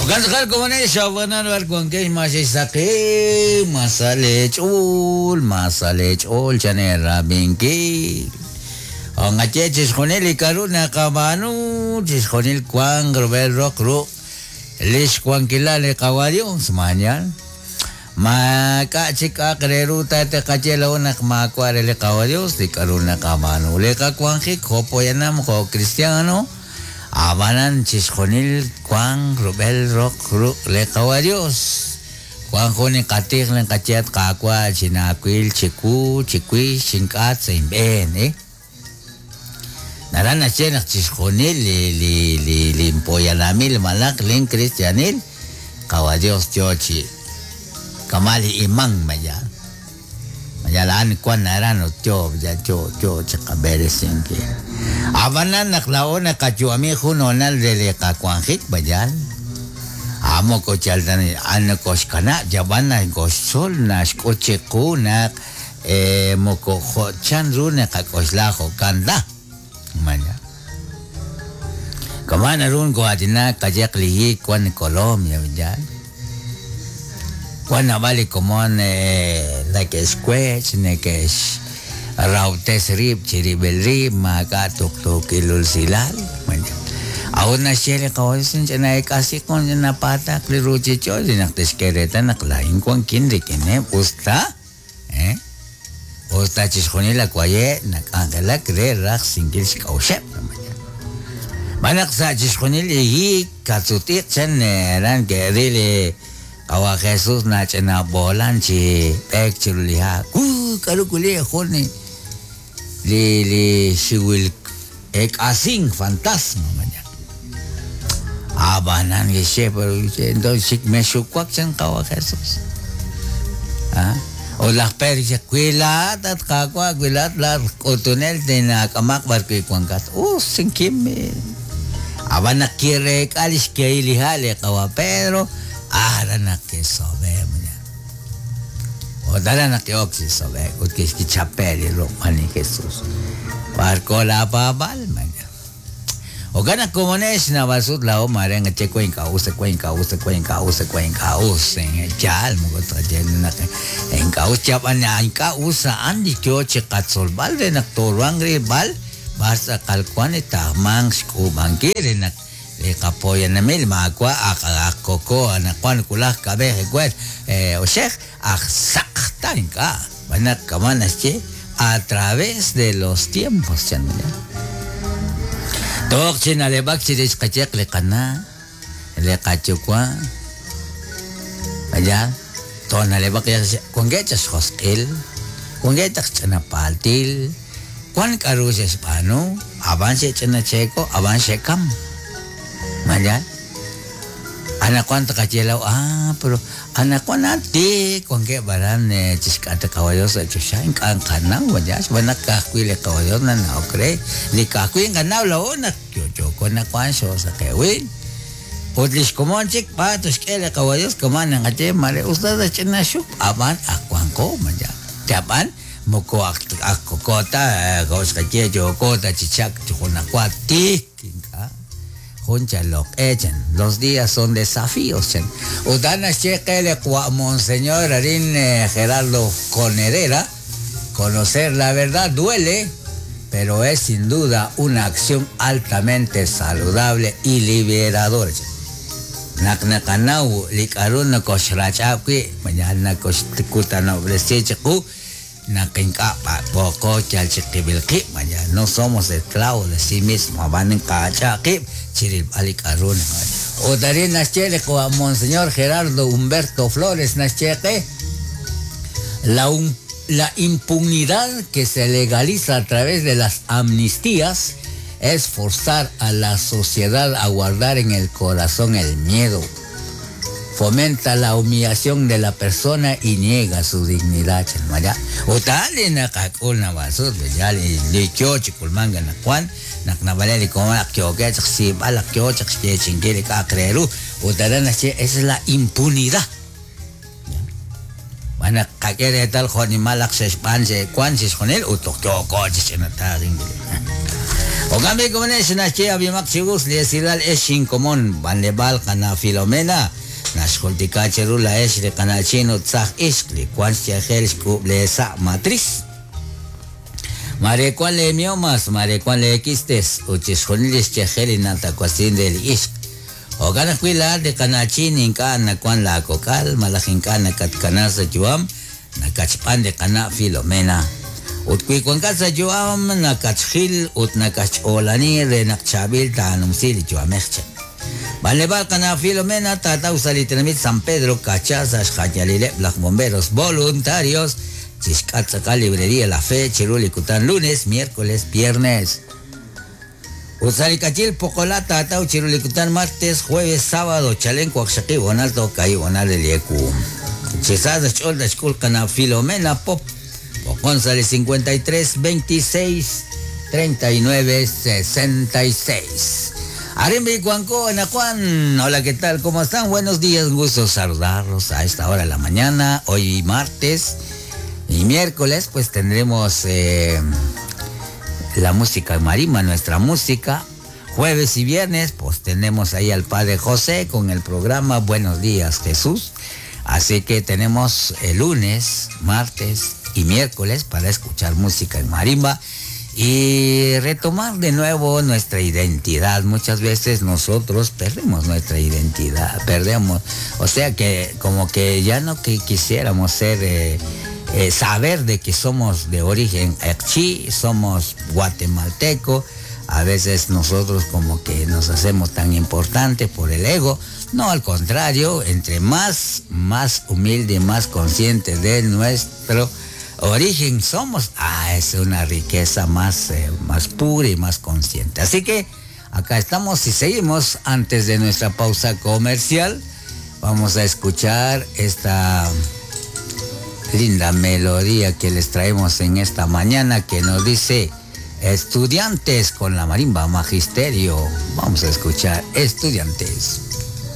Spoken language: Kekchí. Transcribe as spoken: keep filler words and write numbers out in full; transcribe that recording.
Okan komonex abanan war wankex masisaqi masalech'ul masalech'ul chanera binki ongache chixjunil ikaru naqab'aanu chixjunil kwan rub'el roq ru' lix wankilal li qawa Dios mañan ma k'a chik aqreru tateqache law naq maawa' re li qawa Dios li k'aru naqab'aanu li qawanjik jo poyanam jo cristiano abanan chixjunil kwan rub'el roq ru' li qawa Dios kwan jun inqatij linqachet qawa chinaawil chiwu chiwix chink'at sa inb'een eh naran naxye naq chixjunil li li li linpoyanamil malaq lin cristianil qawa Dios yo chi kamal iman maya maya laan kwan naran yo ya yo yo chiqab'eresinki abanan naq la'o naqayu'ami jun honal re li qawanjik bayal amo kochaltan an koxkana yaban koxtzol naxk'ut chiqu naq eh moko chan ru naqak'oxla jo'kan la maya kamana run koatina kayeq lihi kwan Colombia ya kwan nab'al komon eh nake'xwech neke'x rawtes rib' chirib'el rib' maak'a' tuqtuukil usilal maya aun naxye li qawa ch'ina ek'asi kon ch'ina patak li ruchich'och' naq tixk'e reetal naq laa'in wankin rik'ineb' usta eh usta chixjunil akwaye' nak'anjelak re rajsinkil xk'a'uxeb' manaq sa' chixjunil hiik katzutiq chan ran ke'ril qawa Jesús nach'ina b'oolan chi b'eek chiru li ha' u k'aru kuli jun li li xiwil ek'asink fantasma maya abanan kixye pero entonces xik mexuwak chan qawa Jesús ah o laj Pedro dice kwilaat at qawa kwilaat la k'utunel tinak'amaq b'ar wi' wankat us sinkim aban naq kireek'a li xkehil li ha' li qawa Pedro ara naq kisobe maya o dara naq ki'ok chi sobe ut kixkichape li ruq' li Jesús barco la paab'al maya Ogana komonex nab'al lao mare ngache kwen k'a'us kwen k'a'us kwen k'a'us kwen k'a'us yaal moko tqaye naq ink'a'us chab'an ink'a'us a'an li yo chi qatzolb'al re naq toruan rilb'al b'ar tz'aqal wan tajmanq xk'uub'ankil re naq li qapoyanamil maawa' aj koko anaqwan kulaj kab'ej ewer oxej aj saq ta ink'a' b'anaq kama' naxye a través de los tiempos chan Toq chinaleb'ak chirix qayeq li qana' li qayuwa' aya tonaleb'ak wankeb' chaq xjosq'il wankeb' chaq ch'inapaltil wan k'aru xe'xb'aanu ab'an xe'ch'ina cheeko ab'an xe'kam maya anaqwan tqaye law ah pero anaqwan ati wankeb' b'aran chixk'at li qawa Dios sa' choxa ink'a' nqanaw maya xb'aan naq ka'ajwi' li qawa Dios nanawok re li ka'ajwi' nqanaw la'o naq yo'yooko naqwan xoosaqewil ut li xkomon chik b'a toxk'e li qawa Dios kama' naqaye mare usta sa ch'ina xup ab'an aj wanko maya chab'an moko aj kokota jo' xqaye yookota chi chak chi junaqwa tik ink'a' jun chaloq'e chan los días son desafíos chan ut a'an naxye qe li qawa monseñor arin Gerardo Conerera conocer la verdad duele pero es sin duda una acción altamente saludable y liberadora naq naqanaw li k'aru nakoxrach'ab' wi' maya nakoxkutanob'resi chiqu naq ink'a' paqpoko yal chiqib'il qib' maya no somos esclavos de sí mismo ab'an inqach'a' qib' chirilb'al li k'aru ut arin naxye li qawa monseñor Gerardo Humberto Flores naxye qe la un la impunidad que se legaliza a través de las amnistías es forzar a la sociedad a guardar en el corazón el miedo. Fomenta la humillación de la persona y niega su dignidad. Maya. Utali naqak'ul nab'asut ya li yo chikulmanga naqwan naq nab'alej li komon naq yookeb' chaq xsiib'al naq yoo chaq xyeechinkil li k'a'aq re ru ut aran naxye esa es la impunidad. B'an naq qak'e reetal jo' nimal naq xe'xb'aan xe'wan chixjunil ut toj yooko chi ch'inataaq. Okambi komonex naxye ab'imaq chi us li esilal ex xinkomon b'anleb'aal qana' Filomena naxjultika cheru laex li qana'chin ut tzaj ixq li wan xyajel xk'ub' leesa' matriz. Mare wan le miomas, mare wan le quistes, ut chixjunil li xyajel li natawasin re li ixq. Jo'kan ajwi' laa'at li qana'chin ink'a' nawan laakok'al malaj ink'a' nakatkana sa' yu'am nakachb'an li qana' Filomena. Ut wi wankat sa' yu'am nakatxjil ut nakatxch'oolani re naq chaab'il taanumsi li yu'amej che. B'anleb'aal qana' Filomena taataw sa' li tenamit San Pedro kacha sa' xjayalileb' laj bomberos voluntarios chixk'at tz'aqal librería La Fe chiru li kutan lunes, miércoles, viernes. Ut sa' li kachil Poqolá taataw chiru li kutan martes, jueves, sábado, chalen waqxaqib' honal toj kaahib' honal re li ewu. Chi sa sa' xch'ool taxk'ul qana' Filomena Pop. Poqon sa' li cincuenta y tres, veintiséis, treinta y nueve, sesenta y seis. Arimbi Cuanco, Ana Juan. Hola, ¿qué tal? ¿Cómo están? Buenos días, un gusto saludarlos a esta hora de la mañana. Hoy martes y miércoles, pues tendremos eh, la música marimba, nuestra música. Jueves y viernes, pues tenemos ahí al Padre José con el programa Buenos Días, Jesús. Así que tenemos el lunes, martes y miércoles para escuchar música en marimba y retomar de nuevo nuestra identidad. Muchas veces nosotros perdemos nuestra identidad, perdemos, o sea que como que ya no que quisiéramos ser, eh, eh, saber de que somos de origen q'eqchi, somos guatemalteco. A veces nosotros como que nos hacemos tan importantes por el ego. No, al contrario, entre más, más humilde, más consciente de nuestro origen somos, ah, es una riqueza más, eh, más pura y más consciente. Así que acá estamos y seguimos. Antes de nuestra pausa comercial, vamos a escuchar esta linda melodía que les traemos en esta mañana que nos dice Estudiantes con la marimba Magisterio. Vamos a escuchar Estudiantes.